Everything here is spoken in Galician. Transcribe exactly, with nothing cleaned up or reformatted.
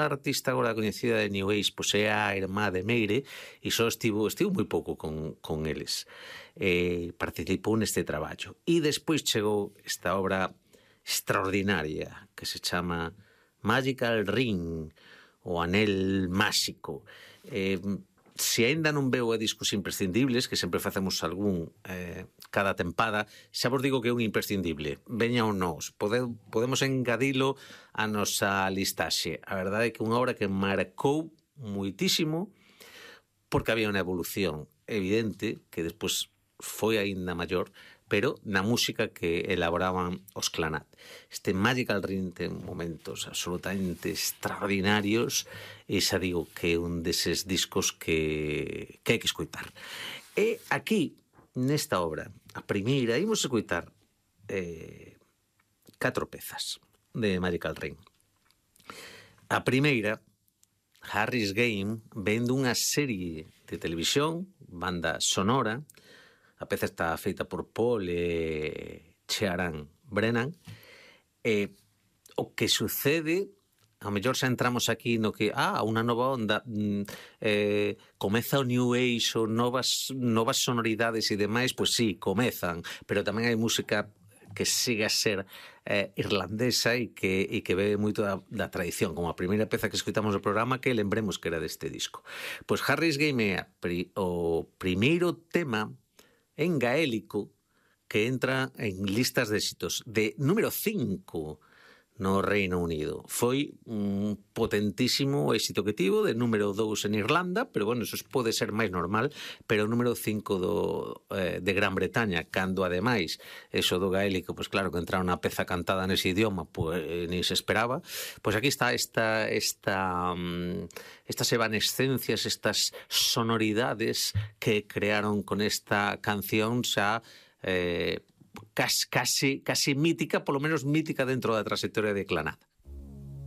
artista agora coñecida de New Age, pois é a irmá de Meire, e só estivo, estivo moi pouco con, con eles. Eh, participou neste traballo. E despois chegou esta obra extraordinaria que se chama Magical Ring, o Anel Máxico. Eh, se aínda non veu a discos imprescindibles, que sempre facemos algún eh, cada tempada, xa vos digo que é un imprescindible. Veña ou nos, pode, podemos engadilo a nosa listaxe. A verdade é que unha obra que marcou muitísimo, porque había unha evolución evidente, que despois foi aínda maior, pero na música que elaboraban os Clanat. Este Magical Ring ten momentos absolutamente extraordinarios e xa digo que é un deses discos que, que hai que escoitar. E aquí, nesta obra, a primeira, imos escoitar eh, catro pezas de Magical Ring. A primeira, Harry's Game, ven dunha serie de televisión, banda sonora. A peza está feita por Paul e Ciaran Brennan. E o que sucede, ao mellor xa entramos aquí no que, ah, unha nova onda, eh, comeza o New Age ou novas, novas sonoridades e demais, pois sí, comezan, pero tamén hai música que sigue a ser eh, irlandesa e que, e que bebe moito da, da tradición, como a primeira peza que escutamos no programa, que lembremos que era deste disco. Pois Harry's Game é pri, o primeiro tema en gaélico que entra en listas de éxitos de número cinco no Reino Unido. Foi un potentísimo éxito que tivo, de número dous en Irlanda, pero bueno, eso pode ser máis normal, pero o número cinco do, eh, de Gran Bretaña, cando ademais eso do gaélico, pois claro, que entra unha peza cantada nese idioma, pois eh, ni se esperaba. Pois aquí está esta esta um, estas evanescencias, estas sonoridades que crearon con esta canción xa eh, Casi, casi, casi mítica, polo menos mítica dentro da trayectoria de Clanat.